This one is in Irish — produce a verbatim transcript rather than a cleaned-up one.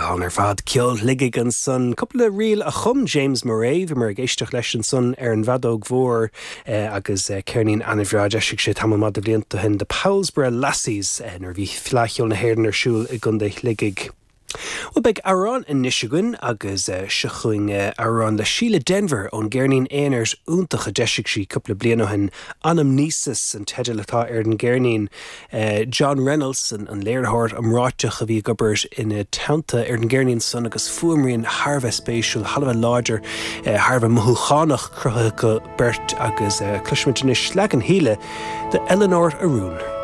Go hálainn ar fad ceol Shligigh ansan cúpla ríl a chum James Murray bhí muid ag éisteacht leis ansan ar an bhfeadóg mhór eh, agus eh, ceirnín an-bhreá d'eisigh sé tamall maith de bhlianta ó shin The Powellsborough Lassies eh, nuair bhí Fleadh Cheoil na hÉireann ar siúl i gContae Shligigh. Well beidh amhrán anois againn agus uh, seo chugainn uh, amhrán le Síle Denvir ón gceirnín aonair iontach a d'eisigh sí cúpla bliain ó shin Anamnesis an teideal atá ar an gceirnín. Uh, John Reynolds an, an léiritheoir iomráiteach a bhí ag obair ina teannta ar an gceirnín san agus fuaimrian thar a bheith spéisiúil thar a bheith láidir uh, thar a bheith mothúchánach cruthaithe acu beirt agus uh, cloisfimid anois leagan Shíle de Eleanor a Rún.